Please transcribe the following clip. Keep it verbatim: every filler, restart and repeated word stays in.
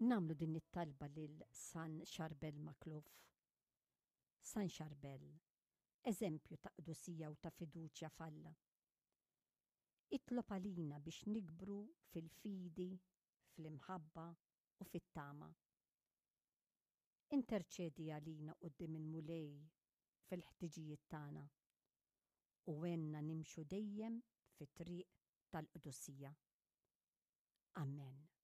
Nagħmlu din it-talba lil San Charbel Makhlouf. San Charbel, eżempju ta' qdusija u ta' fiduċja f'Alla. Itlob għalina biex nikbru fil-fidi, fl-imħabba u fit-tama. Interċedi għalina quddiem il-Mulej fil-ħtiġijiet tagħna u għinna nimxu dejjem fit-triq tal-qdusija. Amen.